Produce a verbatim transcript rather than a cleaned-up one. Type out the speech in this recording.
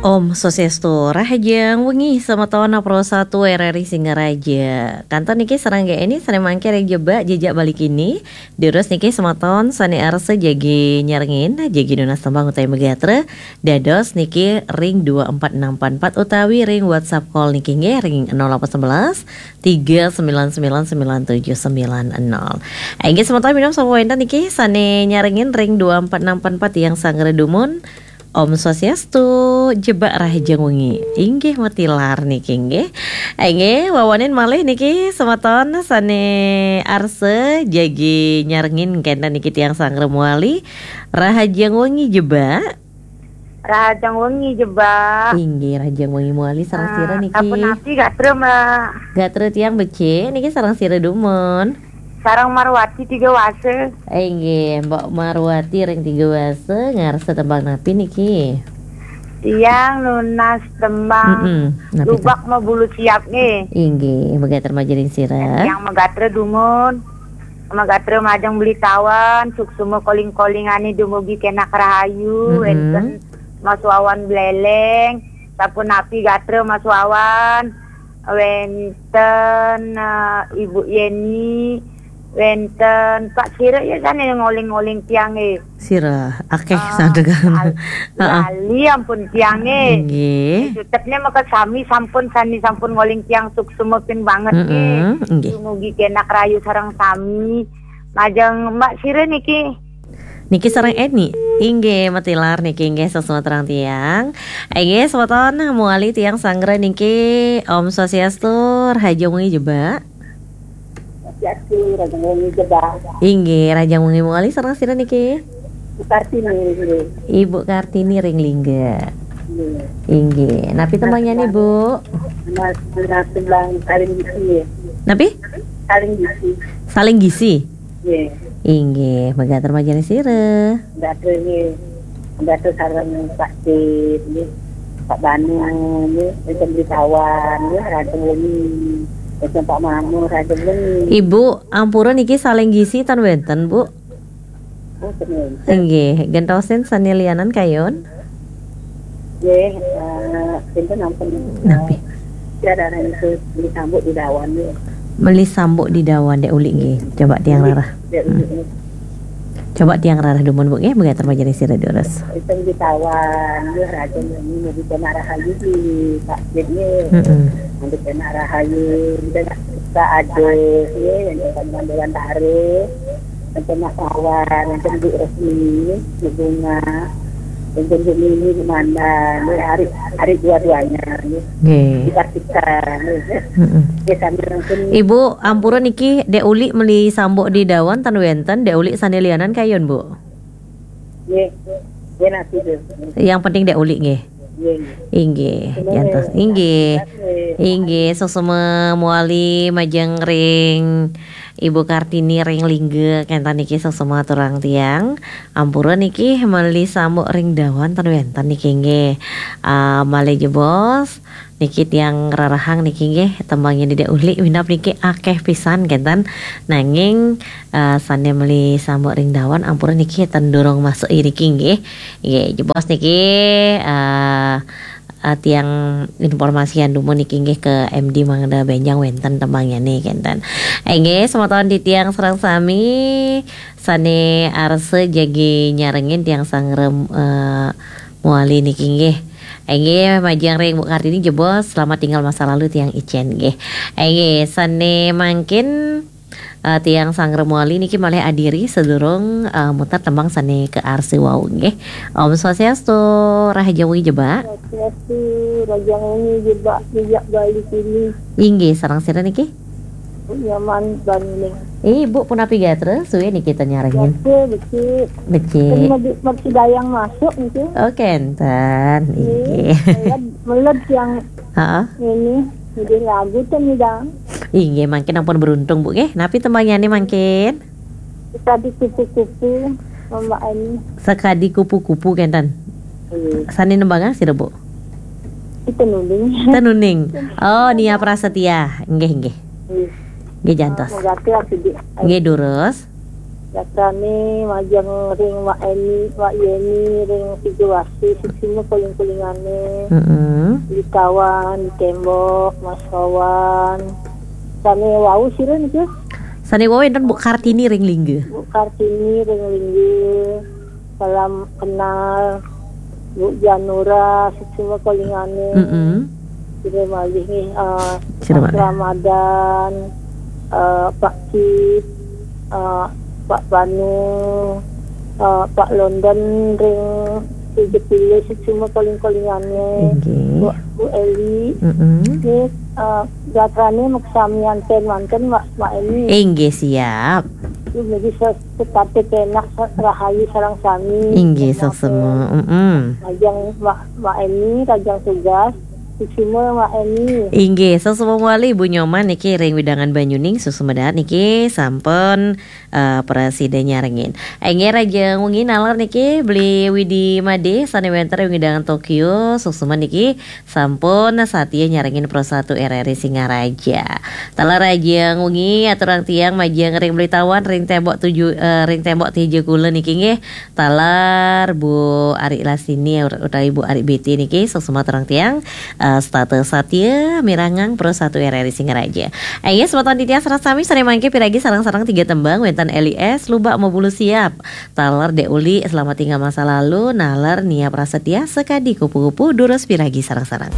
Om Swastiastu, rahajeng wengi semeton Pro Satu R R I Singaraja. Kanten niki sareng G N I sane mangkin ring Jebak Jejak Bali Kini. Durus niki semeton sane arsa jagi nyarengin, jagi nunas tembang utawi magatra, dados niki ring dua empat enam empat empat utawi ring WhatsApp call niki nggih ring nol delapan sebelas, tiga sembilan sembilan, sembilan tujuh sembilan nol. Inggih semeton minab sampun wenten niki sane nyarengin ring dua empat enam empat empat tiang sanggra dumun. Om Swastiastu, Jebak rahajeng wengi. Inggih matilar niki nggih. Inggih, wawanin malih niki semeton sane arsa jagi nyarengin kenten niki tiang sanggra mawali. Rahajeng wengi Jebak. Rahajeng wengi Jebak. Inggih, rahajeng wengi mawali sareng sira niki. Sapunapi gatra, Mbak? Gatra tiang becik niki sareng sira dumun. Sareng Marwati Tiga Wasa. Inggih, Mbok Marwati ring Tiga Wasa ngarsa tembang napi niki? Tiang nunas tembang Mm-mm, napi to? Lubak Mabulu Siap nggih. Inggih, magatra majeng ring sira. Tiang magatra dumun. Magatra majeng Beli Tawan, suksma koling-kolingane dumugi kenak rahayu, Mm-mm. Wenten Mas Wawan Bleleng, sapunapi gatra Mas Wawan, wenten, eh, Ibu Yeni, wenten Pak Sira ya sane ngoling-ngoling tiang nggih. Sira akeh. Ah, sandegan. Lal-, Heeh. Lali ampun tiang nggih. Nggih. Sutetne maka sami sampun, sami sampun ngoling tiang suksma pin banget nggih. Mm-mm, nggih. Dumugi kenak rahayu sareng sami. Majeng Mbak Sira niki. Niki sareng Eni. Inggih, matilar niki inggih sesuatu terang tiang. Inggih, semeton mawali tiang sanggra niki Om Swastiastu, rahajeng wengi Jebak. Swastiastu, rahajeng wengi Jebak. Inggih, rahajeng wengi mawali sareng sira niki? Bu Kartini, nggih. Ibu Kartini ring Lingga. Nggih. Inggih. Napi tembangnya nih, Bu? Mas, Mas Bang Saling Gisi, ya. Napi? Saling Gisi. Saling Gisi? Nggih. Inggih, magatra majeng ring sira. Gatra nggih. Gatra sareng Pak Sid nggih. Pak Banu nggih, wenten Beli Tawan nggih, rahajeng wengi. Wenten Pak Mamo, rahajeng wengi. Ibu, ampura niki Saling Gisi tan wenten, Bu? Oh, ten wenten. Inggih, gentosin sane lianan kayun. Nggih, eh, pinten ampun. Napi? Tiada anu Meli Sambuk di Dawan, nggih. Meli Sambuk di Dawan, Dek Uli nggih. Coba tiang rarah. Dek Uli, hmm, nggih. Coba tiang rarah dumun, Bu, nggih, magatra majeng ring sira durus. Wenten Beli Tawan, nggih, rahajeng wengi, mugi kenak rahayu di Pak Sid, nggih. Mm-mm. Mugi kenak rahayu, kita adus, nggih, yang kita manduan taruh. Wenten Mas Wawan, wenten Bu Resmi, Bu Bunga, wenten Bu Mini, Bu Manda, nggih, arik, arik dua-duanya, nggih. Nggih. Dipastikan, nggih. Mm-mm. Nggih, sami wenten. Ibu, ampura niki, Dek Uli Meli Sambuk di Dawan, tan wenten, Dek Uli sane lianan kayun, Bu? Nggih. Nggih, napi, Bu? Yang penting Dek Uli, nggih. Nggih, nggih. Inggih, jantos. Inggih. Inggih, suksma mawali majeng ring Ibu Kartini ring Lingga, kenten niki suksma aturang tiang. Ampura niki Meli Sambuk ring Dawan ten wenten niki nggih. Ah, malih jebos niki tiang rarahang niki nggih, tembang yen Dek Uli minab niki akeh pisan kenten. Nanging, ah, sane Meli Sambuk ring Dawan ampura niki ten durung masuk iriki nggih. Nggih, jebos niki, ah, ah, tiang informasian dumun niki nggih ke M D mangda benjang wenten tembangyane kenten. Inggih, semeton titiang sareng sami sane arsa jagi nyarengin tiang sangrem, eh, mawali niki nggih. Inggih, majeng ring Bu Kartini jebos, selamat tinggal masa lalu tiang icen nggih. Inggih, sane mangkin eh, tiang sangrem mawali niki malih adiri sadurung, eh, muter tembang sane kaarsa wau nggih. Om Swastiastu, rahajeng wengi Jebak. Swastiastu, rahajeng wengi Jebak, Jejak Bali Kini. Inggih, sareng sira niki? Bu Nyoman Bangling. Eh, Bu, punapi gatra? Suwe niki ten nyarengin. Gatra, becik. Becik. Ten medi-, medi dayang masuk niki. Oh, kenten. Inggih. Inggih. Meled, meled yang Heeh. Ini, ini lagu tuh nih, Dang. Inggih, mangkin ampun beruntung, Bu, nggih. Napi tembangyane mangkin? Sekadi kupu-kupu, Mbak Eni. Sekadi kupu-kupu, kenten. Iya. Sane nembangang sira, Bu? Itu nuning. Tenuning. Oh, Nia Prasetya. Nggih, nggih. Iya. Nggih, jantos. Moga ya, sedih. Nggih, durus. Gatrane majeng ring Mak Eni, Mak Yeni, ring Tiga Wasi, suksma koling-kolingane. Mm-mm. Di Tawan, di Tembok, Mas Wawan. Sane wau sira niki? Sane wau enten Bu Kartini ring Lingga. Bu Kartini ring Lingga. Salam kenal Bu Janura, suksma kolingane. Mm-mm. Sira malih nggih, eh, Sira Mas malih. Ramadan, eh, Pak Cip, eh, Pak Panu, eh, Pak London ring Tiga Pile, suksma koling-kolingane. Inggih. Bu, Bu Eli, Mm-mm. nggih, eh, gatrane maksami anten manten, Mak, Mak Eni. Inggih, siap. Duh, niki se-, setata penak, se-, rahayu sareng sami. Inggih, suksma. Mm-mm. Rajang Mak, Mak Eni, rajang tugas. Suksma Mak Eni. Inggih, suksma malih Bu Nyoman niki ring wewidangan Banyuning, suksma dahat niki sampun eh, prasida nyarengin. Inggih, rajang wengi naler niki Beli Widi Made sane wenten ring wewidangan Tokyo, suksma niki sampun satia nyarengin Pro satu R R I Singaraja. Taler rajang wengi aturang tiang majeng ring Beli Tawan ring tembok tujuh, eh, ring tembok tiga kula niki nggih. Taler Bu Ari Lasini utawi Bu Ari B T niki, suksma aturang tiang, eh, setata satia mirengang Pro satu R R I Singaraja. Inggih, semeton titiang sareng sami sane mangke piragi sareng-sareng tiga tembang, wenten Eli S, Lubak Mabulu Siap. Taler Dek Uli, Selamat Tinggal Masa Lalu, naler Nia Prasetya, Sekadi Kupu-kupu, durus piragi sareng-sareng.